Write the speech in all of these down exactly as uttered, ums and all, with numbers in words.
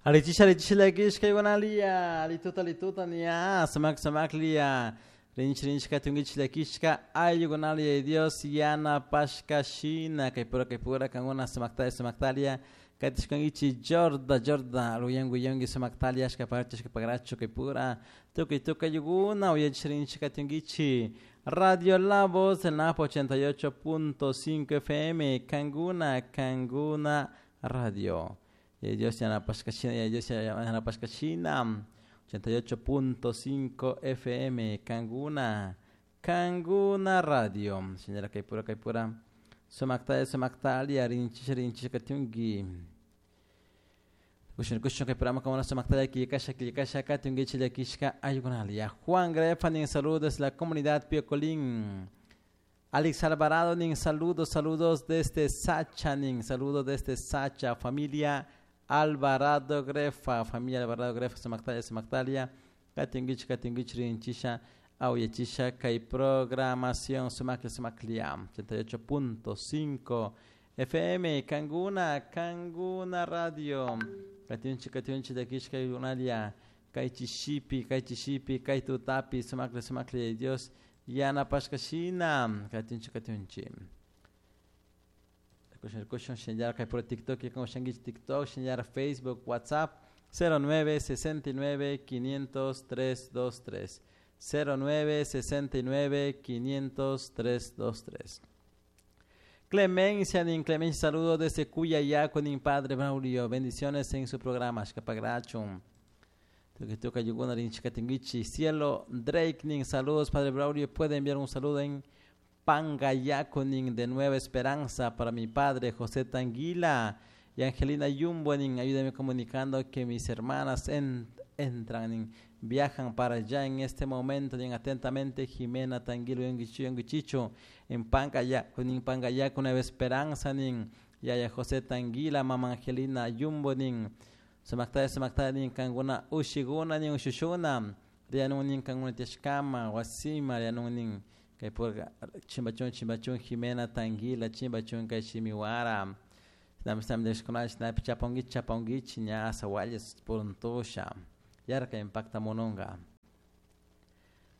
Alichisha alichisha llakishka iguanalia alituta alituta nia sumak sumaklia rinchi rinchi katunkichik llakishka ayllukunalia Dios yanapashka shina kaypura kaypura kankuna sumaktalia sumaktalia katishkankichik Jorda Jorda ruyanku yanki sumaktalia ashkaparachu ashkaparachu kaypura tukuy tukuy ayllukuna uyachik rinchik katunkichik Radio La Voz del Napo ochenta y ocho punto cinco F M Kanguna Kanguna Radio. Y Dios yanapashka shina, y Dios yanapashka shina, ochenta y ocho punto cinco F M Kanguna Kanguna Radio. Señora Kaipura Kaipura sumaktalia sumaktalia rinchish rinchish katunki. Kushun kushun kay programa como la sumaktalia killkasha killkasha katunkichik llakishka ayllukunalia. Juan Grefa nin saludos la comunidad Piocolín. Alex Alvarado nin saludos, saludos desde Sacha nin saludos desde Sacha, familia Alvarado Grefa, familia Alvarado Grefa, sumaktalia sumaktalia katunkichik katunkichik rinchisha awyachisha kay programación sumaklia sumaklia ochenta y ocho punto cinco F M Kanguna Kanguna Radio. Katunchi katunchi llakishka ayllukunalia kay chishipi kay chishipi kay tutapi sumaklia sumaklia Dios yanapashka shina katunchi katunchi. Kushun kushun shinllar kay puro TikTok y como shanguich TikTok shinllar Facebook WhatsApp cero nueve sesenta y nueve quinientos tres dos tres cero nueve sesenta y nueve quinientos tres dos tres. Clemencia, nin Clemencia, saludos desde Cuyayaco, nin Padre Braulio, bendiciones en su programa, Ashkapagrachum. Tuki tuka yuguna rin chikatinguichi. Cielo Drake, nin saludos, Padre Braulio, puede enviar un saludo en Pangayaco, nin de Nueva Esperanza, para mi padre José Tanguila y Angelina Yumbo, nin ayúdame comunicando que mis hermanas en, entran, nin viajan para allá en este momento, nin atentamente Jimena Tanguilo Yunguichicho, en Pangayaco, nin Pangayaco, Nueva Esperanza, nin Yaya José Tanguila, Mamá Angelina Yumbo, nin Sumaktalia, sumaktalia, nin Kanguna Ushiguna, nin Ushushuna, Rianun, nin Kanguna Tishkama, Wasima, Rianun, nin Kaypurga, Chimbachun, Chimbachun, Jimena Tanguila, Chimbachun, Kayshimiwara, Nam Sam Desconach, Nap Chaponguich, Chaponguich, Ñasa, Walles, Puruntosha, Yarka impacta mononga.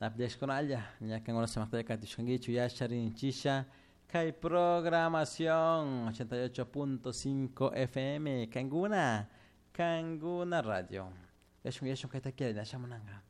Nap Desconalla, Ñakan Sumaktalia, Katishkanguichu, Yasharin, Chisha, Kay programación ochenta y ocho punto cinco F M, Kanguna, Kanguna Radio. Yashun, yashun, kayta quiere, nashamunanga.